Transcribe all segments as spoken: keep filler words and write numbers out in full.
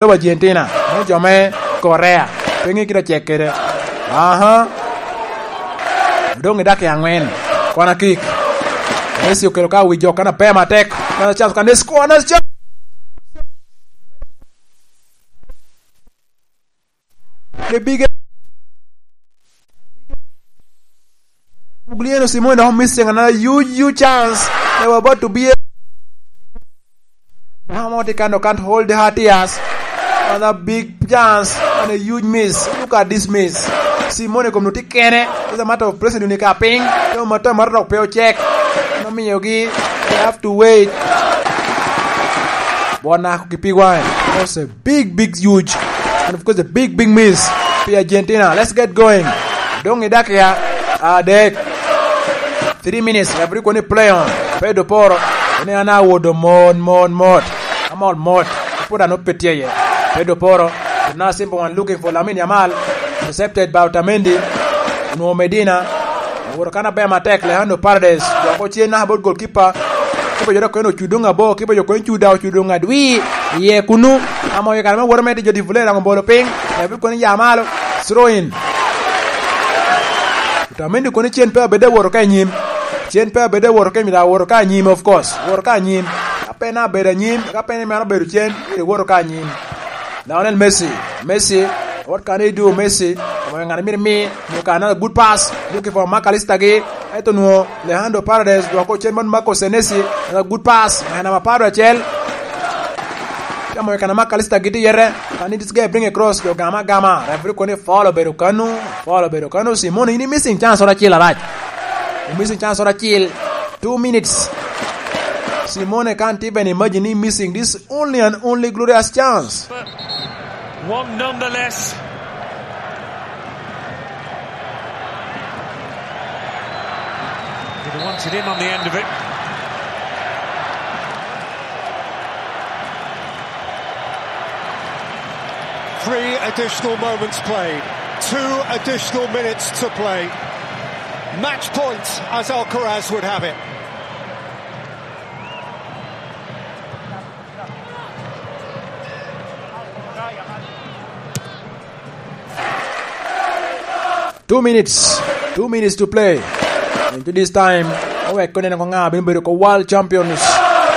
lobo Argentina, me jo me Korea. Pe ŋe kite ocek kede. Aha. Doŋ i dakika aŋwen. Kona kik. Messi okelo ka wi jo kan aber matek. Another chance, kan score, another chance. The big Guglielmo Simone dok missing another huge, huge chance. They were about to be a Hamilton can't, can't hold the hot ears. Another big chance and a huge miss. Look at this miss. Simone kom nuti kene. It's a matter of pressing ni ka piny. Yo matter, matter of pe check. No miyogi. They have to wait. Bona ki pi wine. That's a big, big, huge. And of course, a big, big miss. Pi Argentina. Let's get going. Doŋ i dakika adek. Three minutes, referee koni play on. Pedro Porro, koni an awodo mot, mot, mot. Amol mot. Put ano pe tye iye. Pedro Porro, now simple one looking for Lamine Yamal. Intercepted by Otamendi. Onwoŋo Medina. Owoto kan aber matek, Alejandro Paredes. Dok ocen naka bot goalkeeper. Kipa jo dok koni ocudo ŋa bo, kipa jo koni cuda, ocudo ŋa dwi. Iye kunu. Amo i kare me woto me tye jo deflate, daŋ obolo piny. Referee koni ya malo. Throw in. Otamendi koni cen pe abed awoto ka anyim. Cen pe abed awoto ka anyim, awoto ka anyim, of course. Woto ka anyim. Ka pe en abedo anyim, ka pe en meno abedo cen, myero iwoto ka anyim. Lionel Messi, Messi, what can he do, Messi? Omoyo ŋat myero mi, nyo ka another good pass, looking for Mac Allister gi, eto nwo, Alejandro Paredes, dwoko cen man Marco Senesi, another good pass, ŋat namba apar acel. Tamo i kana Mac Allister giti yete, can this guy bring across, jo gama gama, referee koni foul obedo kanu, foul obedo kanu, Simone, ini missing chance ora acel arac. Missing chance ora acel, two minutes. Simone can't even imagine he missing this only and only glorious chance. But one nonetheless. They wanted him on the end of it. Three additional moments played, two additional minutes to play. Match point, as Alcaraz would have it. Two minutes. Two minutes to play. Into this time, owek konene ko ŋa bino bedo ko world champions.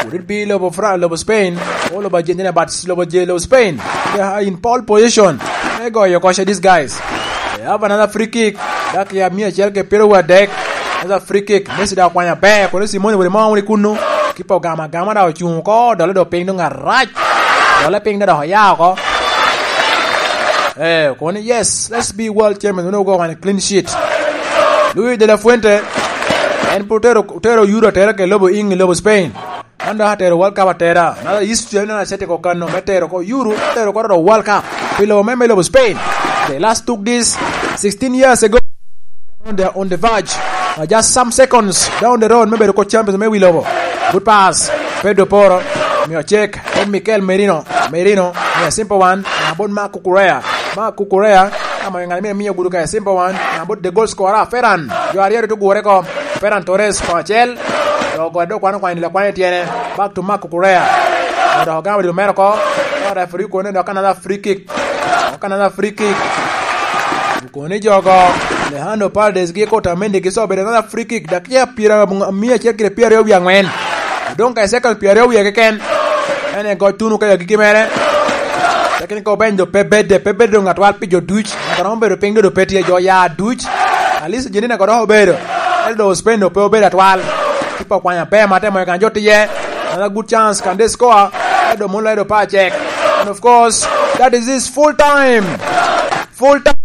Would it be lobo Fra-, lobo Spain, or lobo Argentina, but lobo Je-, lobo Spain. They are in pole position. They go, you coach these guys. They have another free kick. Dakika mia acel ki pyeraryo adek. Another free kick. Messi da okwanya ber. Kono Simone wele mo wuni kunu. Kipa ogama agama da ocuŋ oko. Dole do piny dong arac. Dole piny da dok oya oko. Eh, kono yes, let's be world champions. Wene ogo wan clean sheet. Luis de la Fuente. En pwod otero, otero Euro atera ke lobo Eng, lobo Spain. Man dok atero World Cup atera. Another history, another set ko kano. Me tero ko Euro, tero ko World Cup. Pi lobo me, me lobo Spain. They last took this sixteen years ago. On the, on the verge. Uh, just some seconds down the road, me bedo ko champions me wi lobo. Good pass. Pedro Porro. Mio check. Then Mikel Merino. Merino. Yeah, simple one. Abot Marc Cucurella. Marc Cucurella. Ama ŋat mine miyo gudu ka simple one. Abot the goal scorer. Ferran. Jo aryo ri tugure ko. Ferran Torres ko acel. Dok ogoyo dok kwano kwano, dilo kwano i tyene. Back to Marc Cucurella. Dok ogamo dilo mere oko. Dok referee kone dok another free kick. Dok another free kick. Kone jogo. Alejandro Paredes gi Otamendi gi so bedo another free kick. Dakika pyera, mia acel kede pyeraryo wie aŋwen. Odong ka i second pyeraryo wie keken. En e goc tuno ka i agikki mere. Tekni ka obeny do pe bedde, pe bedde doŋ atwal pi jo duc. Ento romo bedo piny do, do pe tye jo ya duc. At least Argentina ko dok obedo. Ento do Spain do pe obedo atwal. Kipa okwanya pe mate mo kan jo tiye. Another good chance, can they score? Ento do mulo, ento pa check. And of course, that is his full time. Full time.